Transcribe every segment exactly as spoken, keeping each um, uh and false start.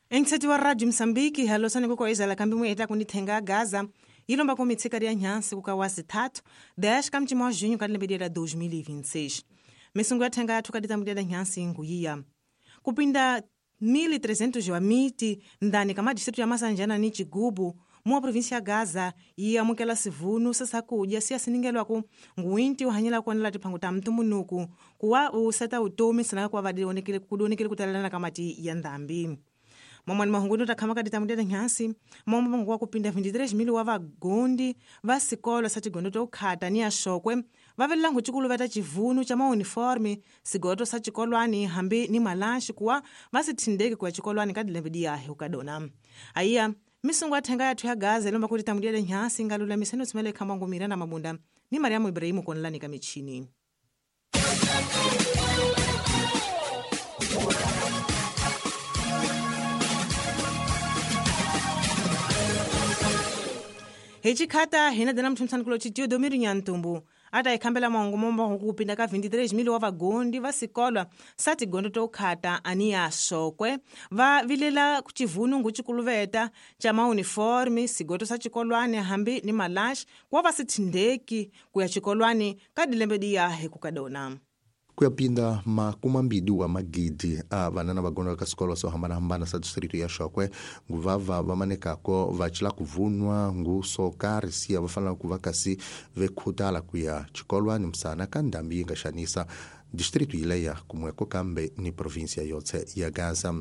Enkiseti wa Radio Msambiki halosani kuko izala kambi mwe eta kunithenga Gaza ilomba ku mitsika ya nhansi kuka wa zitatu dez kamchimo wa junho kadilembedera dois mil e vinte e seis. Misungu ya thenga yathu kaditambudira nhansi nguyiya. Kupinda mil e trezentos wa miti ndani kama distrito ya Masanjana ni Chigubu mwa província ya Gaza iya mukela sivunu sasakudya siya siningelwaku nguwinti uhanyela kuonela tiphango ta mtumbuluko kuwa useta utomi sana kwa vadionekele kudonekele kutalana kamati ya ndambi. Mamwani mahunguno takhama kaditamudera nhansi mombo wa kupinda vinte e três mil wa vagondi va sikolo sa tigondo to khata ni ashokwe va velela nguchikulu va ta chivunu cha mauniforme sigoto sa chikolwani hambi ni malanshi kuwa va sithindeki kuya chikolwani ka dilembe diyahe ukadona. Aiya misungu athenga yathu ya Gaza ilomba kuti tamudera nhansi ngalulamiseni utsimele khamba ngumira na mabunda ni Mariamu Ibrahimu konlani ka michini. Hichikhata hina dana mthumtsani kulo chitiyo domiri nyantumbu ata ikhambela maungu momba kupinda ka vinte e três mil wa vagondi va sikolwa sa tigondo to khata ani ya shokwe va vilela kuchivunu nguchikuluveta cha mauniforme sigoto sa chikolwani hambi ni malash kwa va sithindeki kuya chikolwani ka dilembe diyahe kukadona. Kuyapinda makumambidi wa magidi a vanana vagonda ka sikolo swo hambanahambana sa distrito ya Shokwe nguvava va manekako va cila kuvunwa ngu swo karhi siya va fanela ku va kasi vekhutala ku ya chikolwani msana ka ndhambi yi nga xanisa distrito yileya kumweko kambe ni província yotse ya Gaza.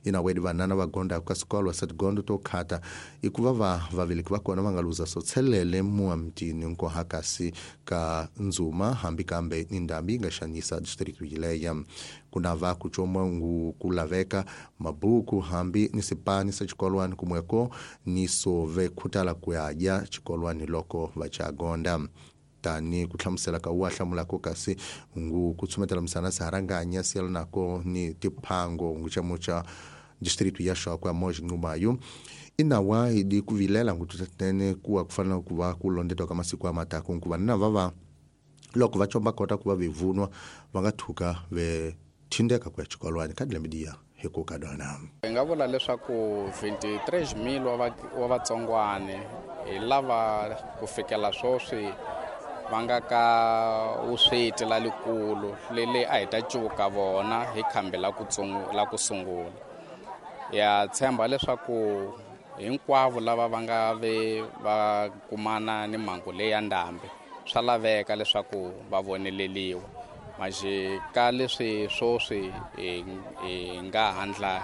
Inawedi vanana va gonda ka sikolo sa tigondo to khata ikuva va vaveleki va kona va nga luza swo tshelele muamtini nkoha kasi ka ndzuma hambi kambe ni ndhambi yi nga xanisa distrito yileya. Kuna va ku choma ngu ku laveka mabuku hambi ni sipani sa chikolwani kumweko ni so ve khutala ku ya dya chikolwani loko va cha gonda. Tani ku hlamusela ka wa hlamulako kasi ngu ku tsumetela misana saharanganya siyela nako ni tiphango ngu chamucha distrito ya Shokwe moji ngumayo inawa idi kuvilela ngu tutatene kuwa kufanana kuva kulondetwa ka masiku ya matako nkuva na vava loko va chomba kota kuva vivunwa va nga thuka ve thindeka ku ya chikolwani ka dilemidiya hiko ka dona. Hi nga vula leswaku vinte e três mil wa vatsongwane hi lava ku fikela sweswi va nga ka vusweti la likulu lele a hi ta cuka vona hi khambi la ku la ku sungula. Ya tshemba leswaku hinkwavo lava va nga ve va kumana ni mhangu leyi ya ndhambi swa laveka leswaku va voneleliwa. Manje ka leswi swoswi hi hi nga handla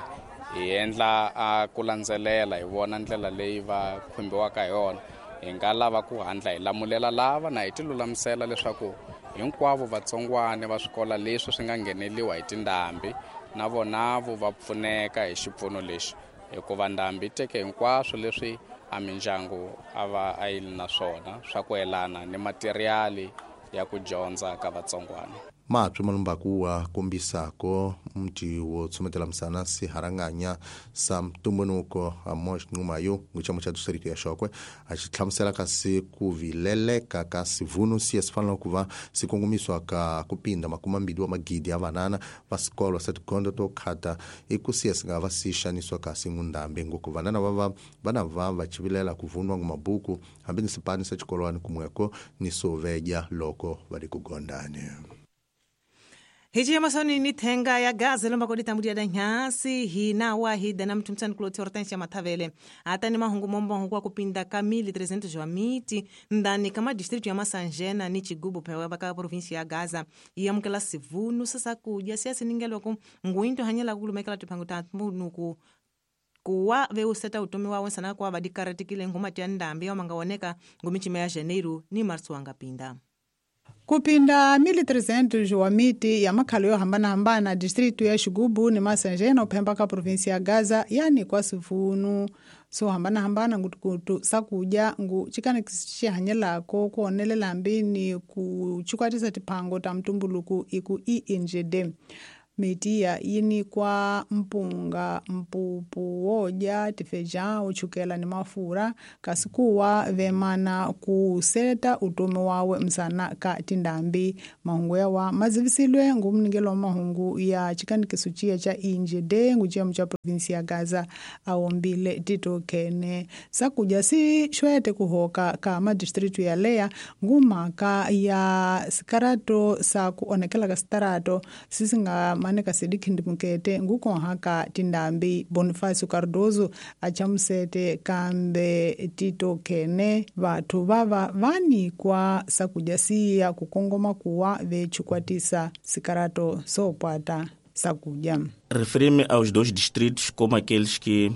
hi endla a ku landzelela hi vona ndlela leyi va khumbiwaka hi yona. Hi nga lava ku handla hi lamulela lava na hi ti lulamisela leswaku hinkwavo vatsongwane va swikolo leswi swi nga ngheneliwa hi tindhambi na vona vo va pfuneka hi xipfuno lexi hikuva ndhambi yi teke hinkwaswo leswi a mindyangu a va a yi ri na swona swa ku yelana ni materiali ya ku dyondza ka vatsongwana. Mapyo malumbaku wa kombisako mti wo tsumetela misana siharanganya sa mtumbunuko Amos Ngumayo nguchamo cha distrito ya Shokwe a xi hlamusela kasi ku vileleka ka sivunu siya sifanela ku va sikongomiswa ka kupinda makumambili wa magidi ya vanana va sikolo sa tigondo to khata i ku siya si nga va si xaniswa kasi ngundhambi ngoko vanana va va vana va va chivilela ku vunwa ngumabuku hambi ni sipani sa chikolwani kumweko ni sovedya loko va ri ku gondani. Hichi masoni ni thenga ya Gaza lomba kodi tambudia da nyansi hina wa hida na mtumtsani kuloti Hortensia Mathavele ata ni mahungu mombo hungu kupinda ka mil e trezentos wa miti ndani kama distrito ya Masanjena ni Chigubu pewa baka província ya Gaza iyamukela sivunu sasa kudya siya siningelwa ku nguinto hanyela kulumekela tiphango ta munuku kuwa veuseta utomi wawe sana kwa vadikaratikile ngoma tia ndambi ya mangaoneka ngomichima ya Janeiro ni Marso wangapinda. Kupinda mil e trezentos wa miti ya makhalo yo hambana-hambana distrito ya Xigubu ni Masanjena uphemba ka província ya Gaza yani kwa sivunu so hambana-hambana ngutukutu sakudya ngu chikana xihanyelako ku onelela mbini ku chikwatisa tiphango ta mtumbuluku iku E N G D. Mitiya yi nikwa mpunga, mpupu wodya, tifejão, chukela ni mafurha, kasi kuwa vemana ku seta utomi wawe msana ka tindhambi. Mahungu yawa mazivisilwe ngu munikelo wa mahungu ya chikanikiso ciya ca inje de ngu ciyamo ca provinsia ya Gaza awombile Tito Khene. Sakudya si xwete kuhoka ka madistritu ya leya ngu mhaka ya sikarato sa ku onhakela ka sitarato si si nga maneka sedi khindimukete ngu konhaka tindhambi. Bonifacio Cardoso a chamusete kambe Tito Khene vathu vava va nikwa sakudya siya ku kongoma kuwa ve chikwatisa sikarato so pwata sakudya. Referi-me aos dois distritos como aqueles que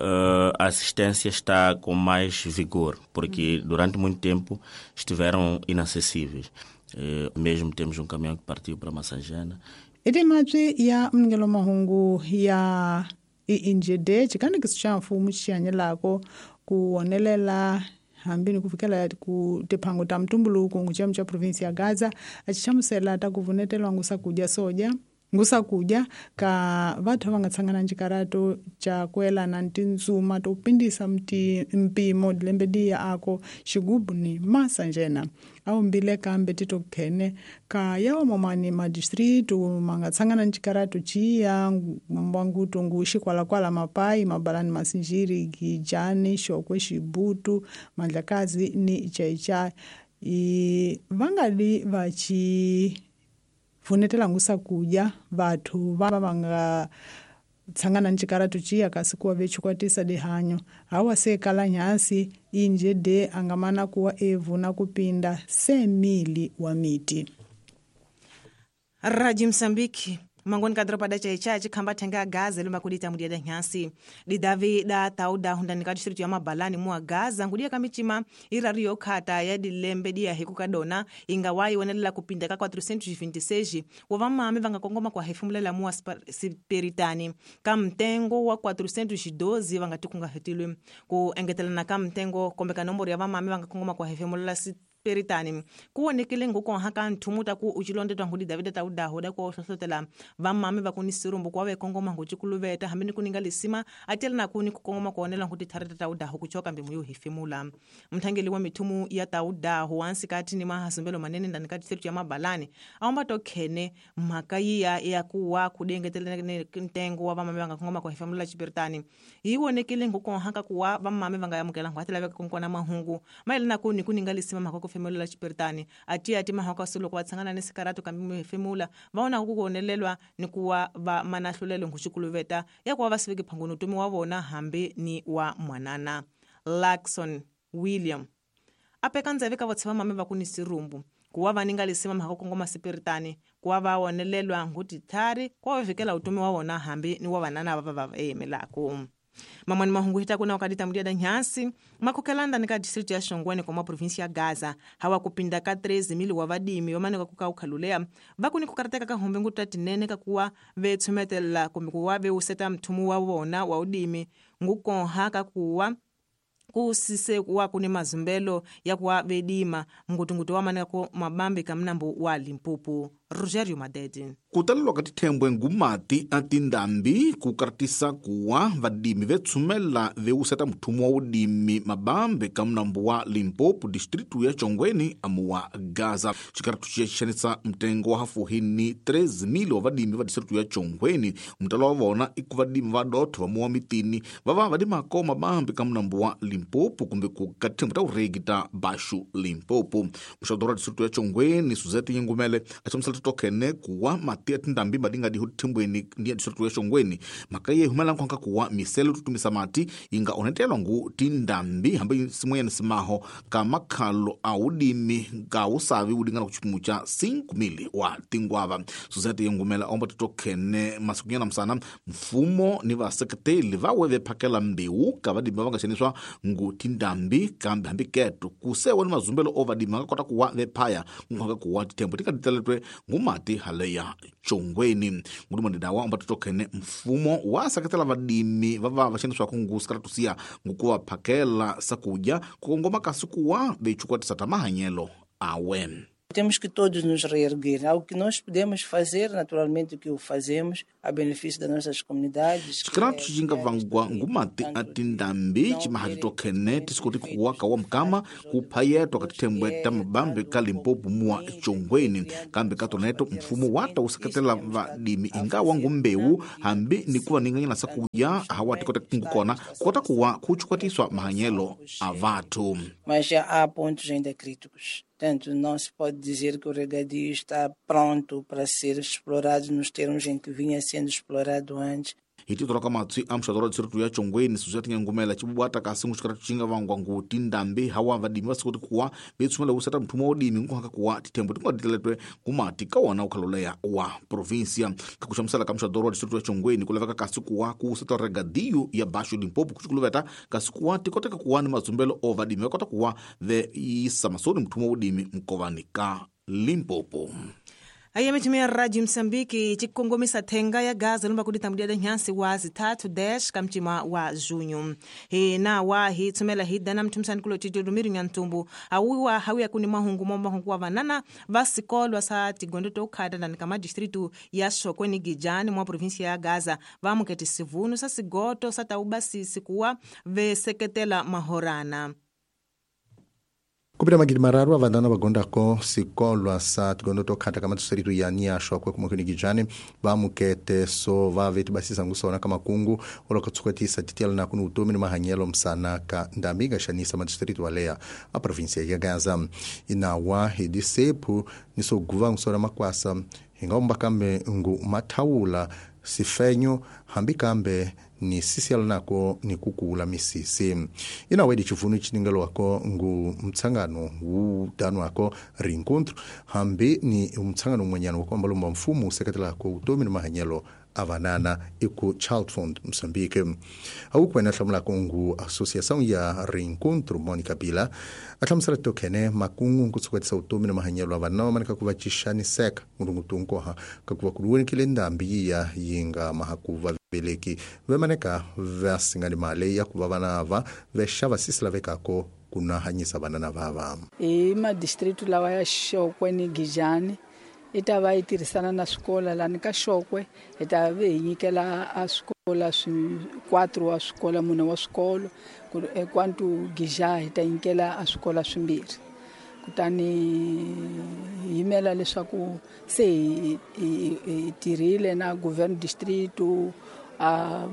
uh, a assistência está com mais vigor, porque durante muito tempo estiveram inacessíveis. Uh, mesmo temos um caminhão que partiu para Massangena. Ete mapsi ya mnikelo mahungu ya I N G D chikanikiso xa mfumo xi hanyelako ku wonelela hambi ni ku fikela ku tiphango ta mtumbuluko ngu xiyamu xa provinsi ya Gaza a xi hlamusela ta ku vunetelwa ngu swakudya sodya ngu swakudya ka vathu va nga tshangana ncikarato ca kuelana ni tindzuma to pindisa mpimo lembe diya ako xigubu ni Massangena. Awumbile kambe Tito Khene ka yawa mamani madistritu ma nga tshangana ncikarato ciya mbwangutu ngu xikwalakwala, Mapai, Mabalani, Masinjiri, Gijani, Xokwe, Xibutu, Mandlakazi ni Xai-Xai i va nga li va ci vunetela ngu swakudya vathu va va nga tshangana ncikarato ciya kasi kuwa ve chikwatisa dihanyo. Hawa se kala nyasi inje de angamana kuwa evuna kupinda semili wa miti. Radio Msambiki mangoni ka dropa da chaicha chikhamba thenga Gaza lomba kudita mudia da nyasi didavi da tauda hundani ka district ya Mabalani mua Gaza ngudia kamichima irari yokhata ya dilembe dia hiku kadona inga wayi wonelela kupinda ka quatrocentos e vinte e seis wa vamame vanga kongoma kwa hefumulela mua Siperitani ka mtengo wa quatrocentos e doze vanga tikunga hetilwe ku engetelana ka mtengo kombe ka nomboro ya vamame vanga kongoma kwa hefumulela Peritani kuwonekele ngukonha ka nthumu ta ku ucilondetwa ngudi Davida ta udaho da ko hlohlotela vamame va kuni sirumbu kwa vekongoma ngucikuluveta hambi ni kuninga lisima atela na kuni kukongoma kuonela nguti thareta ta udaho kuchoka mbimu yo hefemula. Mthangeli wa mithumu ya ta udaho wansikati ni mahasumbelo manene ndani ka district ya Mabalani aomba to khene mhaka yiya ya kuwa kudengetelene ntengo wa vamame vanga kongoma kwa hefemula Chiperitani yiwonekele ngukonha ka kuwa vamame vanga yamukela ngwatela veka konkona mahungu maelana kuni kuninga lisima mhaka kufemulela Chiperitani ati ati mahaka solo kwa tsangana ni sikarato kambi muhefemula vaona kukonelelwa ni kuwa va manahlulelo nguxikuluveta ya kuwa va siveke phangoni utomi wa vona hambi ni wa mwanana. Lakson William apeka ndzeve ka votsheva mame va kuni sirumbu kuwa va ninga lisima mhaka kongoma Siperitani kuwa va wonelelwa ngutithari kuwa va vikela utomi wa vona hambi ni wa vanana va va va eyemelako. Mamani mahungu hita kuna wakati tamudia da nyasi makhokelanda nika district ya Shongweni kwa provinsi ya Gaza hawa kupinda ka treze mili wa vadimi wamane kuka ukhalulea vakuni kukarateka ka hombe nguta tinene kakuwa vetsumetela kumbe kuwa veuseta mthumu wa vona wa udimi ngukonha kakuwa kusise kuwa kuni mazumbelo ya kuwa vedima ngutungutu wamane ku mabambi kamnambo wa Limpopo. Rogerio Madede. Kutalelwa ka tithembwe ngumati a tindhambi ku karatisa kuwa vadimi vetsumela veuseta muthumu wa udimi mabambe ka munambu wa Limpopo distritu ya Chongweni amu wa Gaza. Xikaratu xiya xixanisa mtengo wa hafuhini treze mil wa vadimi va distritu ya Chongweni. Mutalo wa vona i ku vadimi va dotho va muwa mitini va va vadimako mabambe ka munambu wa Limpopo kumbe ku ka tithembwe ta uregi ta Baxu Limpopo. Muxadoro wa distritu ya Chongweni Suzette Yingumele a hlamusela tokene kuwa mati ya tindhambi madinga diho tithembweni ni ya distritu ya Shongweni mhaka yi humela nkonka kuwa miselo tutumisa mati yi nga onhetelwa ngu tindhambi hambi simweyani simaho ka makhalo a udimi ka usavi wu lingana ku xipimu xa cinco mili wa tingwava. Suzette Yingumela omba titokhene masikunyana msana mfumo ni vaseketeli va we ve phakela mbewu ka vadimi va nga xaniswa ngu tindhambi kambe hambi keto kusewa ni mazumbelo o vadimi va nga kota kuwa ve phaya nkonka kuwa tithembo ti nga titeletwe ngumati haleya Chongweni. Ngudumandida wa tokhene mfumo wa seketela vadimi va va va xaniswaka ngu sikaratusiya ngukuva phakela sakudya ku kongoma kasi kuwa vechukwatisa ta mahanyelo awe. Temos que todos nos reerguer. Algo que nós podemos fazer, naturalmente, o que o fazemos, a benefício das nossas comunidades. Xikaratu xi nga vangiwa ngumati a tindhambi ximahati khene tisikoti kuwa ka wa mukama ku phayetwa ka tithembwe ta mabambi ka Limpopo muwa Chongweni kambe ka toneto mfumo wa ta wu seketela vadimi ingawa ngumbewu hambi ni ku va ninganyana sa kuya hawa tikota kungu kona kota kuwa ku chukwatiswa mahanyelo a vathu. Mas já há pontos ainda críticos. Portanto, não se pode dizer que o regadio está pronto para ser explorado nos termos em que vinha sendo explorado antes. Hi tito ra ka matswi a muxato ra distritu ya Chongweni Suzette Ngumela xibubata kasi ngu xikaratu xi nga vangwa ngu tindhambi hawa vadimi va sikoti kuwa ve tshumela wu seta muthumo wa udimi nkuhaka kuwa tithembo ti nga titeletwe ngumati ka wona wu khaloleya wa provinsia ka ku xamusela ka muxato wa distritu ya Chongweni ku laveka kasi kuwa ku seta regadiyo ya Baxo Limpopo ku xikuluveta kasi kuwa ti koteka kuwa ni mazumbelo o vadimi va kota kuwa ve yisa masoni muthumo wa udimi nkovani ka Limpopo. Aí a Rádio Moçambique tikongomisa thenga ya Gaza lumba kuditambudia da nhansi wa zitatu dez kamtima wa junho. He na wa hi tsumela hi dana mtumsani kulo tito lumiru nyantumbu awiwa hawia kuni mahungu momba hungu wa vanana vasikolwa sa tigondo tokhada na kama distritu ya Shokwe ni Gijani mwa província ya Gaza vamuketi sivunu sa sigoto sa tauba sikuwa veseketela mahorana. Kupita magidi mararu avandana vagondako sikolwa sa tigondo tokhata kama distritu ya nia Shokwe kumwe Gijani vamukete so vaveti basisa ngusona kama kungu olokatsukatisa titiala na kunu utomi ni mahanyelo msana ka ndamiga xanisa madistritu walea a província ya Gaza inawa hidisepu nisoguva ngusona makwasa hingaomba kambe ngu mathawula sifenyo hambi kambe ni sisiala nako ni kukula misisi inawedi chivunu chiningelo wako ngu mtsangano wutano wako rincontro hambi ni mtsangano mwenyano wako ambalomba mfumo useketela ko utomi ni mahanyelo avanana iku Child Fund Moçambique. Aukwena hlamula kongu Associação ya Reencontro Monica Bila ahlamusela tokene makungu nkutsukatisa utomi na mahanyelo avanana manika kuva seka ngulungutunkoha kakuva kuluwenikile ndambi ya yinga mahakuva veleki vemaneka vasingani male ya kuva vana va vexava sisila vekako kunahanyisa vanana vava. I madistritu lawa ya Shokwe ni Gijani i ta va yi tirhisana na swikola lani ka Shokwe hi ta ve hi nyikela a swikola swi quatro wa swikola mune wa swikolo kwantu Gija hi ta nyikela a swikola swimbirhi kutani hi yimela leswaku se hi hi tirhile na governo distrito a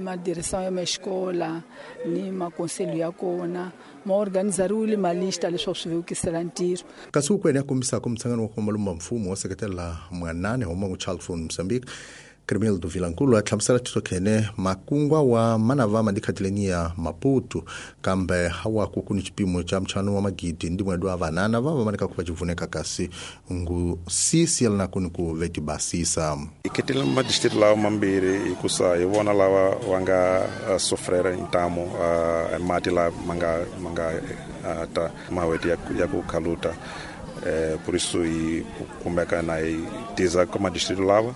madireção ya maxikola ni makonselho ya kona ma organizariwile malista leswaku swi vevukisela ntirho. Kasi ukwene ya kombisaka mtsangano wa kombalumba mfumo wa seketela mwanane homa Child Fund Mozambique Cremildo Vilankulu a hlamusela titokhene makungwa wa manava madikhatileni ya Maputo kambe hawa kukuni chipimo cha mchano wa magidi ndi mwadu wa vanana vava manika kuva chivuneka kasi ngu sisi yalina kuni ku veti basisa. Iketela madistrito lawa mambiri ikusa ivona lawa wanga uh, sofrera intamo uh, mati la manga manga uh, ta maweti ya, ya kukaluta eh, por isso i kumbeka na i tiza como distrito lawa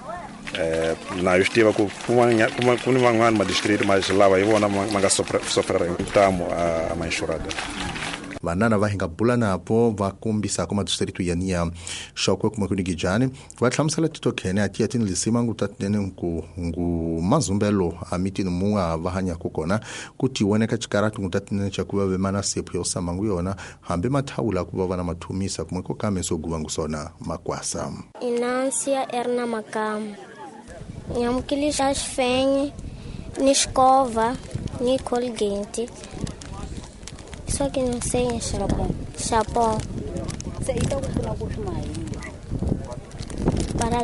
Eh, na estiva ku ku van'wana madistrito mas lava hi vona ma nga sofrera ntamu a manxurada. Vanana va hinga bula napo va kombisaka madistrito ya nia Shokwe kumwe kuni Gijani va hlamusela titokhene a tiya tini ngu tatinene nku ngu mazumbelo a mitini munga va hanyaka kona ku tiwoneka xikaratu ngu tatinene xa ku va vemana sephu yo samangu yona hambi mathawula ku va va na mathumisa kumwe ko kambe swo guva ngu sona makwasa. Inansia Erna Makamu Nyamukilisa xifenye ni xikova ni Colgate. Só que não sei xapão. Xapão. Para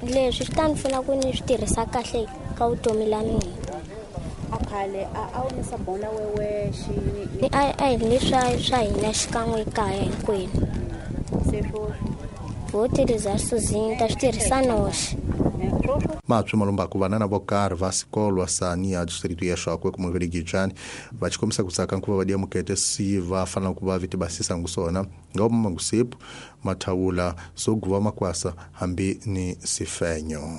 leswi swi ta ni pfuna ku ni swi tirhisa kahle ka vutomi la mina. A khale a a wu ni sabona wewexe ni a a hi leswa swa hina xikan'we ekaya hinkwenu. Se swoswi vo tirhisa sozinho ta swi tirhisa noxe. Matswi malombaku vanana vo karhi va sikolwa sa nia distrito ya Shokwe kumwe kuni Gijani va xikombisa ku tsaka nkuva va diamukete si va fanela ku va viti basisa ngusona ngoma ngusepu mathawula so guva makwasa hambi ni sifenyo.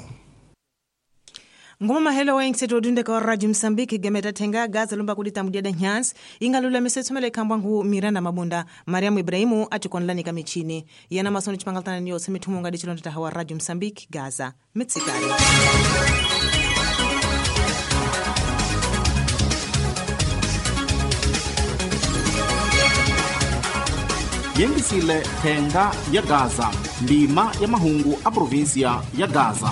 Ngoma mahelo wa ingiseto odundeka wa Radio Msambiki gemeta thenga Gaza lomba kulita mudiada nyansi ingalula tsumela ikhambwa ngu Miranda Mabunda Mariamu Ibrahimu atikonlanika michini yana masono chipangaltana niyotse mithumu ngadi chilonda tahawa Radio Msambiki Gaza mitsikari. Yengisile thenga ya Gaza ndima ya mahungu a província ya Gaza.